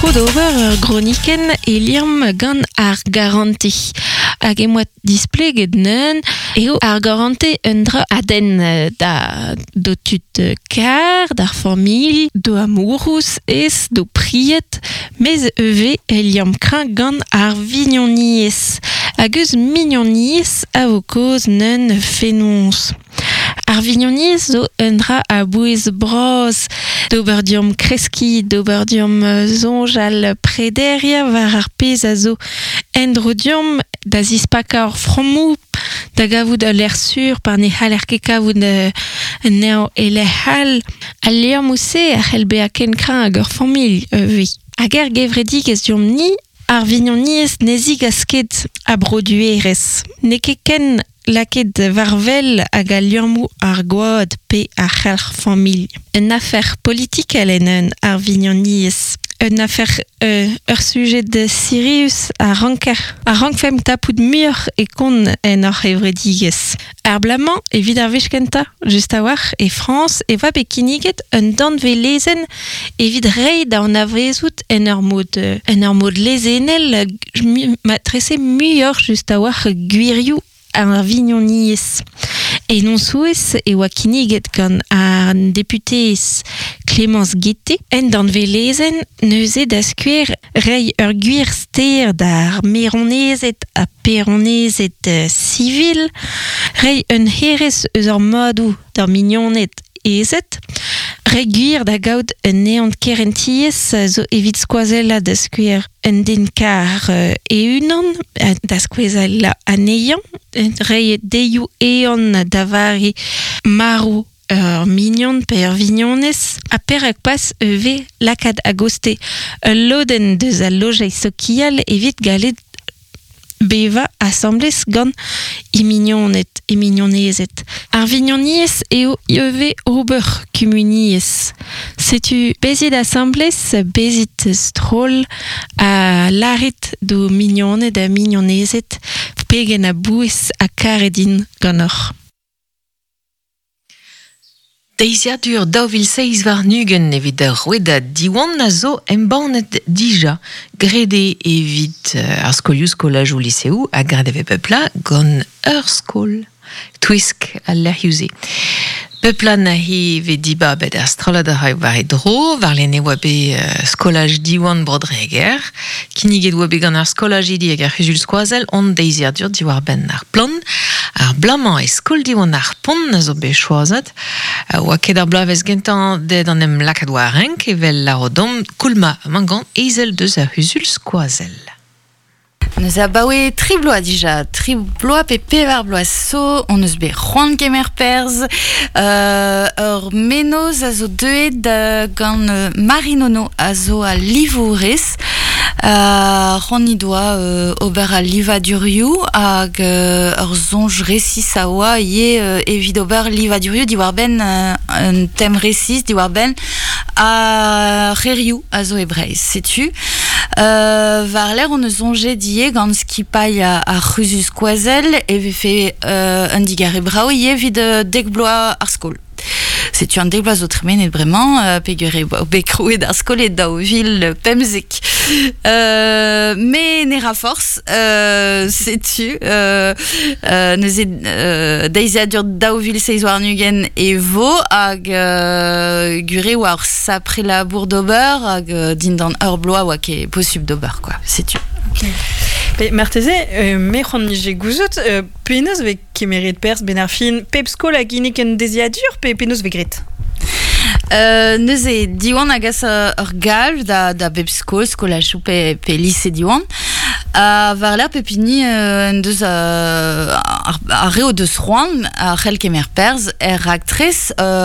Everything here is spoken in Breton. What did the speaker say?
tro d'ober ur gronikenn e liamm gant ar garante. Hag em boa displeget neun eo ar garante un dra a denn da d'ho tud kar, d'ar familh, d'ho amourous ez, d'ho pried, mez eve e liamm kreñv gant ar vignoniezh. Hag eus mignoniezh a vo kaoz neun fenoz. Ar vignoniezh zo un dra a-bouez bras d'ober deomp kreskiñ, d'ober deomp soñjal prederiañ war ar pezh a zo en-dro deomp, da zispakañ hor frammoù, da gavout ul lec'h sur pa ne c'haller ket kavout anezhañ e lec'h all. Al liammoù-se a c'hell bezañ ken kreñv hag ur familh ivez. Hag er gevredigezh deomp-ni, ar vignoniezh ne zigas ket a broduerezh. N'eo ket ken lakaet war wel hag al liammoù ar gwad pe ar c'helc'h familh. Un afer politikel en ar vignoniezh. Un afer ur sujed sirius a ranker a rankfemp tapout muioc'h e kont en hor c'hevredigezh. Ar bloaz-mañ, evit ar wech kentañ, just a-walc'h, e Frañs e oa bet kinniget un danvez-lezenn evit reiñ da anavezout en ur mod en ur mod lezennel matrese muioc'h just a-walc'h gwirioù ar vignoniezh. En hon souezh e oa kinniget gant an deputeez Clémence Guettet en danvez-lezenn neuze da skouer reiñ ur gwir ster d'ar maeronezed ha paeronezed sivil, reiñ un hêrezh eus ar madoù d'ar mignoned ezed, reiñ gwir da gaout un ehan kerentiezh zo evit skoazellañ da skouer un den kar e-unan, da skoazellañ anezhañ, reiñ deioù ehan da vare marv ur mignon pe ur vignonez, ha perak pas ivez lakaat a-gostez ul lodenn deus al lojeiz sokial evit gallet bevañ asambles gant he mignoned, he mignonezed. Ar vignoniezh eo ivez ober kumuniezh. Setu bezit asambles, bezit stroll ha lârit d'ho mignoned ha mignonezed pegen a-bouez ha karet int ganeoc'h. Deiziadur 2027 evit ar rouedad Diwan a zo embannet dija. Graet eo evit ar skolioù, skolajoù, liseoù ha graet e vez bep bloaz gant ur skol twisk al lec'hioù-se. Bep bloaz neuze vez dibabet ar strollad a raio war e dro, warlene e oa bet skolaj Diwan Bro-Dreger. Kinniget oa bet gant ar skolajidi hag ar c'huzul skoazell hon deiziadur diwar-benn ar plan. Ar bloaz-mañ e skol Diwan ar Pont a zo bet choazet. Oa ket ar bloavezh gentañ dezhe d'an em lakaat war renk evel lâro domp Koulma Mangan ezel deus ar c'huzul skoazell. Neuze abaoe tri bloaz dija, tri bloaz pe pevar bloaz zo, hon eus bet c'hoant kemer perzh. Ur mennozh a zo deuet gant Marie Nono a zo al livourez. C'hoant he doa ober al livadurioù hag ur soñj resis a oa ivez evit ober livadurioù diwar-benn un tem resis diwar-benn ar c'hêrioù a zo e Breizh. Setu. War-lerc'h hon eus soñjet ivez gant skipailh ar c'huzul skoazell e vefe un digarez brav ivez evit dek bloaz ar skol. Setu an dek bloaz zo tremenet bremañ peogwir eo bet krouet ar skol e 2015. Me ne ra forzh, setu neuze deiziadur 2027 e vo hag gwir eo oa ur sapre labour d'ober hag dindan ur bloaz oa ket posubl d'ober quoi, setu. Pe marteze, me c'hoant 'nije gouzout, penaos 'vez kemeret perzh 'benn ar fin? Pep skol a ginnig un deiziadur pe penaos 'vez graet? Neuze, Diwan a gas ur galv da bep skol, skolajoù pe lise Diwan. Ha war-lerc'h pep hini en deus ar re o deus c'hoant a c'hell kemer perzh er raktres.